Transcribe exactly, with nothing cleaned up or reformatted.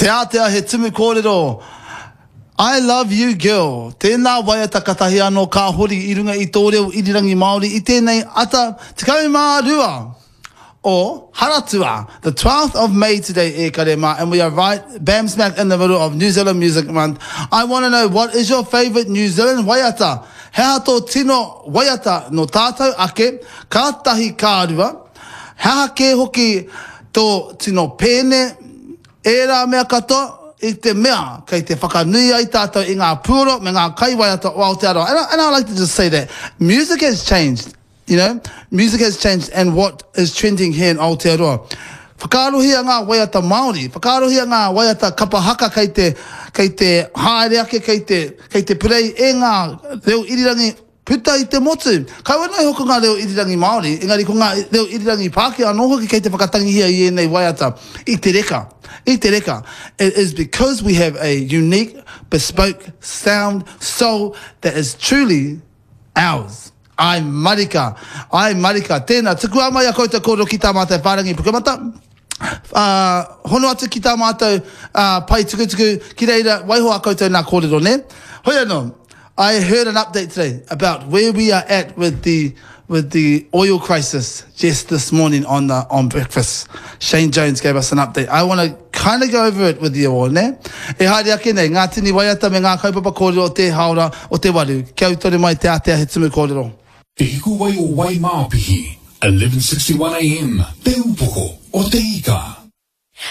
Te Ātea he tumu kōrero. I love you girl. Tēnā waiata katahi anō ka hori i runga i tō reo irirangi Māori i tēnei ata tekau mā rua o Haratua, the twelfth of May today, e kare mā, and we are right bam smack in the middle of New Zealand Music Month. I want to know what is your favourite New Zealand waiata? He aha tō tino waiata nō tātou ake, ka tahi ka rua, he aha kē hoki tō tino pēne, ērā mea katoa, i te mea kei te whakanui ai tātou i ngā puoro me ngā kaiwaiata o Aotearoa. And I, and I like to just say that music has changed, you know, music has changed and what is trending here in Aotearoa. Whakaarohia ngā waiata Māori, whakaarohia ngā waiata kapa haka kei te, kei te haere ake, kei te, kei te purei e ngā reo irirangi puta i te motu. Kaua noa iho ko ngā reo irirangi Māori, engari ko ngā reo irirangi Pākehā anō hoki kei te whakatangihia i ēnei waiata i te reka. I te reka. It is because we have a unique, bespoke sound, soul that is truly ours. Ai marika, ai marika. Tēnā, tukua mai a koutou kōrero ki tā mātou whārangi pukamata. Ā, hono atu ki tā mātou uh, pae tukutuku, ki reira, waiho a koutou nā kōrero, nē? Hoi anō, I heard an update today about where we are at with the with the oil crisis just this morning on the on breakfast. Shane Jones gave us an update. I want to kind of go over it with you all, ne? E haere ake nei, ngā tini waiata me ngā kaupapa kōrero o te haora o te waru. Kia ū tonu mai Te Ātea he tumu kōrero. Te Hikuwai o Waimāpihi, eleven sixty-one A M, Te Upoko o Te Ika.